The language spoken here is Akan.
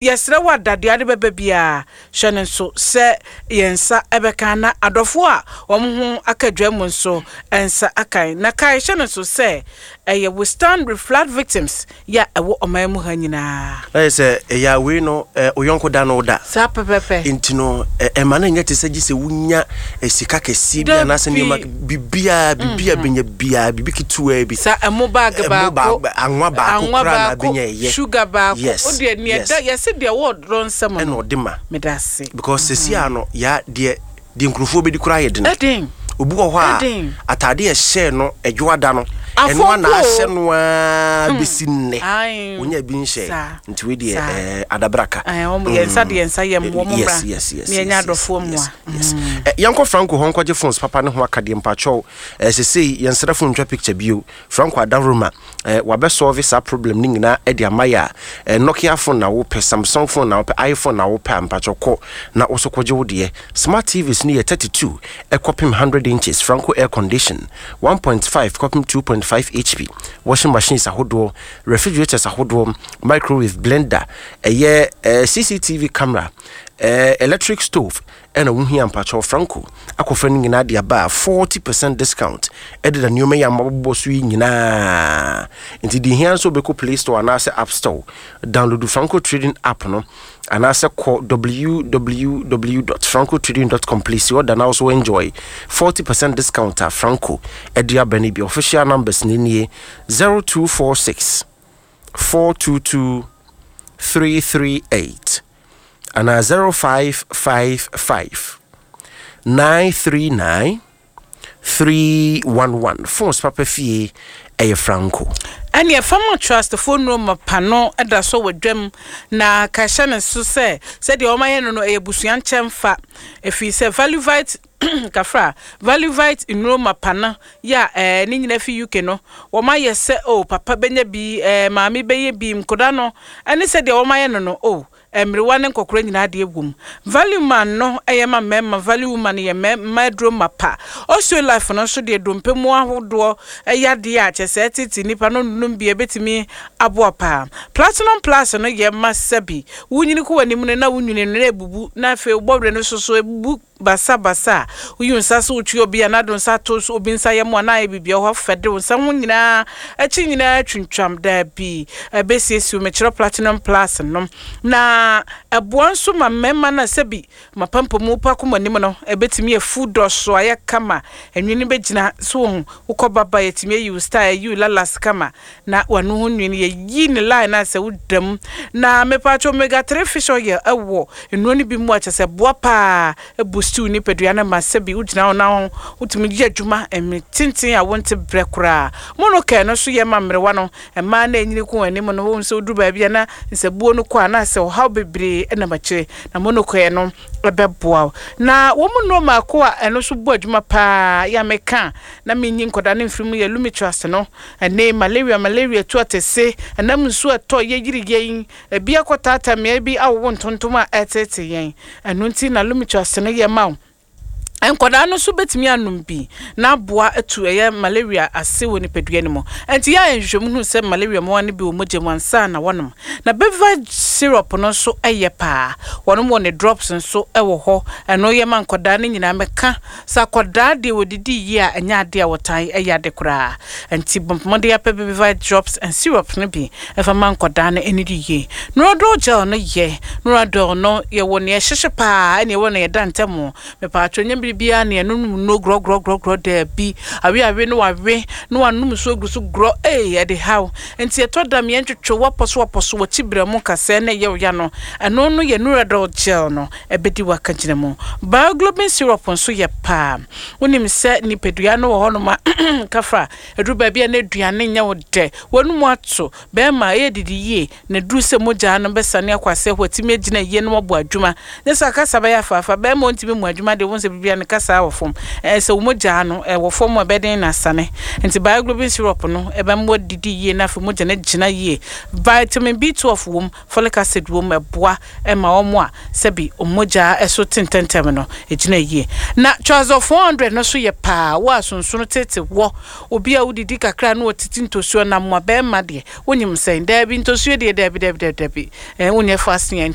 Yɛsrɛ wo a dadeɛ ade bɛba biara, hyɛ no nso sɛ yɛn nsa bɛka na adɔfoɔ a wɔn ho aka dwa mu nso nsa aka. Na kae hyɛ no nso sɛ ɛyɛ We Stand With Flood Victims yɛ a ɛwɔ ɔman mu ha nyinaa. Na yɛ sɛ ɛyɛ a wei no wo yɔnko da no wo da. Saa pɛpɛpɛ. Nti no ɛma no nyɛ te sɛ gye sɛ wonya sika kɛseɛ bi anaasɛ nneɛma biribiara biribi a bɛnya biara biribi ketewaa bi. Sa ɛmo bag baako, anwa baako koraa na bɛnya ɛyɛ. Sugar baako. Yes. O deɛ nea ɛda yɛse deɛ wɔ ɔdɔ nsam no. Ɛna ɔde ma. Meda ase. Because sɛsi a no ya deɛ deɛ nkurɔfoɔ bɛdi koraa yɛ den. Ɛden. Obi wɔ hɔ a ataade a ɛhyɛɛ no ɛdwoada no ɛno a na ahyɛ no ara bɛsi nnɛ. Onya bi nhyɛ. Nti wei deɛ ɛɛ adabraka. Yɛn nsa deɛ nsa yɛ mmoa mo mmra. Yes. Ne yɛnyɛ adɔfoɔ mmoa. Yes. Yɛnkɔ Franco hɔ nkɔgye phones papa ne ho akadeɛ mpakyɛw. Sesei yɛnsrɛ phone ntwa picture bio. Franco Adaworoma wabɛ solve saa problem no nyinaa de ama yɛ a, Nokia phone na wopɛ, Samsung phone na wopɛ, iPhone na wopɛ a mpakyɛw kɔ na wo so kɔgye wo deɛ. Smart TVs no yɛ 32 kɔpem 100 inches, Franco air condition, 1.5 kɔpem 2.5 HP, washing machines ahodoɔ, refrigerators ahodoɔ, microwave, blender, ɛyɛ CCTV camera, electric stove, Ɛna wo hia mpakyɛw Franco akɔfa no nyinaa de aba a 40 percent discount ɛdeda nneɛma yi a mabobɔ so yi nyinaa nti deɛ hia nso wobɛkɔ Play Store anaasɛ App Store download Franco Trading app no anaasɛ kɔ www.francotrading.com place order na also enjoy 40 percent discount a Franco ɛde aba no bi. Official numbers no nie 0246 422 338 anaa 0555 939 311. Phones papa fie ɛyɛ Franco. Ɛneɛ Fama Trust foɔ nnuro mapa no da so wɔ dwam na ka hyɛ no so sɛ sɛdeɛ wɔayɛ no no ɛyɛ abusua nkyɛnfa ɛfiri sɛ Valuvite Kafra, Valuvite nnuro mapa no yɛ a ɛɛ ne nyinaa fi UK no wɔayɛ sɛ oh papa bɛnya bi ɛɛ maame bɛyɛ bi nkoda no ɛne sɛdeɛ wɔayɛ no no oh Mmerewa ne nkɔkora nyinaa deɛ wom. Value man no yɛ ma mmarima, value woman yɛ mmaa aduro mapa. Osteolife no nso deɛ dompe mu ahodoɔ yadeɛ a kyerɛ sɛ ɛtete nnipa no nom bi a ɛbɛtumi aboa paa. Platinum plus no yɛ ma sɛbi wonyini kɔ w'anim no na wo nwini no na ɛbubu na afei wo bɔwerɛ no nso so ɛbubu basabasa a, woyi wo nsa sɛ wotwi obi anaa de wo nsa to obi nsa yam anaa ayɛ biribi a ɛhɔ fɛ de wo nsa ho nyinaa akyi nyinaa twintwam. Dabi, ɛbɛsiesie wo. Mekyerɛ Platinum Plus no. Na ɛboa nso ma mmarima no a sɛbi mapampamu pa kɔ mo anim no, ɛbɛtumi afu dɔso ayɛ kama. Nwini no bɛgyina so wɔ ho. Wokɔ baba yɛtumi ayi wo style, ayi wo lalas kama. Na w'ano ho nwi no yɛyi ne line a sɛ woda mu. Na mepaatwo omega 3 fish oil ɛwɔ nnuro no bi mu a kyerɛ sɛ ɛboa paa ɛboost wo nipadua no ma sɛbi wogyina hɔ na wotumi yɛ adwuma mmere tenten a wonte brɛ koraa. Monocare no nso yɛ ma mmerewa no, mmaa no a ɛnyini kɔ wɔn anim no, wohu sɛ woduru baabi a na nsabuo no kɔ a na sɛ ɔhaw bebree nam akyire na monocare no ɛbɛboa wo. Na wɔn mu nnuro mmaako a ɛno nso bɔ adwuma paa yɛ a meka a na menyi nkwadaa no mfiri mu yɛ Lumitrust no. Ɛnne, malaria, malaria tu atese, ɛnam nsu a ɛtɔ yɛ yiri yɛn, ebi akɔtaataa mmeae bi awowo ntontom a ɛreteetee yɛn. Ɛno nti na Lumitrust no yɛ ma wo. Nkwadaa no nso betumi anom bi na aboa atu ɛyɛ malaria ase wɔ nipadua no mu. Enti yɛayɛ nhwehwɛmu hu sɛ malaria mmoawa no bi wɔ mogya mu ansa na wɔanom. Na Bevage syrup no nso yɛ paa. Wɔnom wɔ ne drops nso wɔ hɔ. Ɛno yɛ ma nkwadaa no nyinaa. Meka Sɛ akwadaa deɛ wɔdidi yie a, ɛnyɛ adeɛ a wɔtaa yɛ ade koraa. Ɛnti bɔ mmɔden ara pɛ Babyvite drops and syrup no bi fa ma nkwadaa no nnidi yie. Noradol gel no yɛ. Noradol no, yɛwɔ nea ɛhyehye pa ara ɛna yɛwɔ nea ɛda ntam. Mepatwɔ nyɛ bere biara na yɛnonom nnuro gorɔgorɔgorɔgorɔ, daabi. Awe awe na wawe na wanom nsuo agu so gorɔ, ei, ɛde haw. Nti ɛtɔ da mea ntwetwe w'apɔso apɔso w'akyi berɛ mu kasɛɛ na ɛyɛ wo ya no, ɛno no yɛ Noradol gel no. ɛbɛdi w'akagyina mu. Bioglobin syrup nso yɛ paa. Wonim sɛ nipadua no wɔ hɔnom a kafra, ɛduru baabi a na aduane nyɛ wo dɛ, w'anum ato, bɛrima ɛyɛ didi yie, na ɛduru sɛ mogya no bɛsane akɔ aseɛ hɔ atumi agyina yie na wabɔ adwuma. Nyɛ sɛ kasa bɛyɛ afaafa, bɛrima ɔntumi mmɔ adwuma deɛ wohu sɛ biribiara ne kasa wɔ fam. Ɛɛ sɛ wo mogya no ɛwɔ fam a ɛbɛyɛ den na asane. Nti bioglobin syrup no ɛbɛma wadidi yie na afei mogya no agyina yie. Vitamin B12 wom, folic acid wom, ɛboa ma wɔn a sɛbi wɔn mogya so te ntɛmntɛm no gyina yie. Na Trazol 400 no nso yɛ paa, wo a sonsono tete wɔ, obi a wodidi kakra na ɔtete ntosuo nam a, bɛrima deɛ, wonyim sɛn? Daabi, ntosuo deɛ daabi daabi daabi daabi, eh, wonyɛ fasting a.